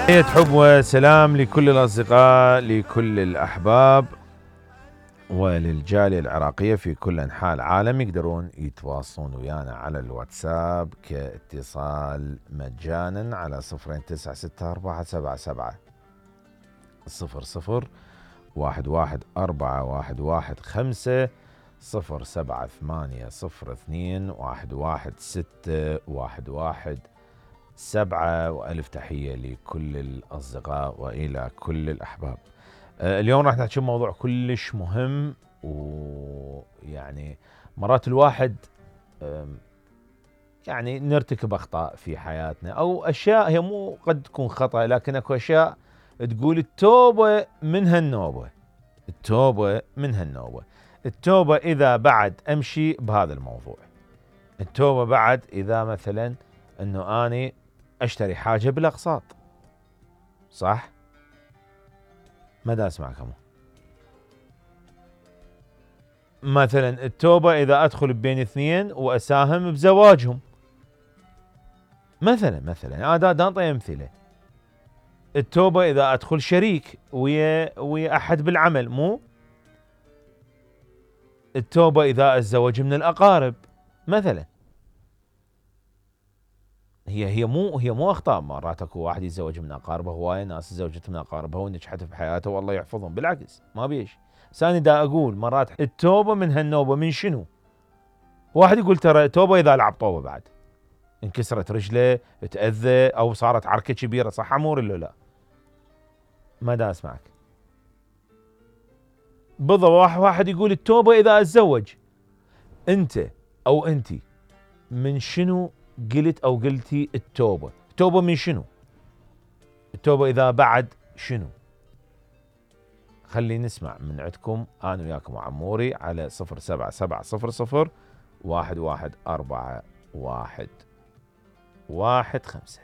تحية حب وسلام لكل الأصدقاء، لكل الأحباب وللجالية العراقية في كل أنحاء العالم. يقدرون يتواصلون ويانا على الواتساب كاتصال مجانا على 029647700114115 07802116117. وألف تحية لكل الأصدقاء وإلى كل الأحباب. اليوم راح نحكي موضوع كلش مهم، ويعني مرات الواحد يعني نرتكب أخطاء في حياتنا، أو أشياء هي مو قد تكون خطأ، لكن أكو أشياء تقول التوبة من هالنوبة. التوبة إذا بعد أمشي بهذا الموضوع. التوبة بعد إذا مثلا أنه أني أشتري حاجة بالأقساط، صح؟ ما دا أسمعكم. مثلا التوبة إذا أدخل بين اثنين وأساهم بزواجهم، مثلا هذا دا أمثلة. التوبة إذا أدخل شريك ويا أحد بالعمل، مو التوبة إذا أتزوج من الأقارب مثلا. هي مو أخطاء. مرات اكو واحد يتزوج من أقاربه، هواية ناس تزوجت من أقاربها ونجحت في حياته والله يحفظهم، بالعكس ما بيش. ثاني دا أقول مرات التوبة من هالنوبة من شنو؟ واحد يقول ترى التوبة إذا لعب طوبة بعد، انكسرت رجله، تأذى، أو صارت عركة كبيرة، صح أمور إلا لا؟ ما دا أسمعك. بالضبط واحد يقول التوبة إذا أتزوج. أنت أو أنتي من شنو قلت أو قلتي التوبة؟ التوبة من شنو؟ التوبة إذا بعد شنو؟ خلي نسمع من عندكم أنا وياكم وعموري على 07700 114115.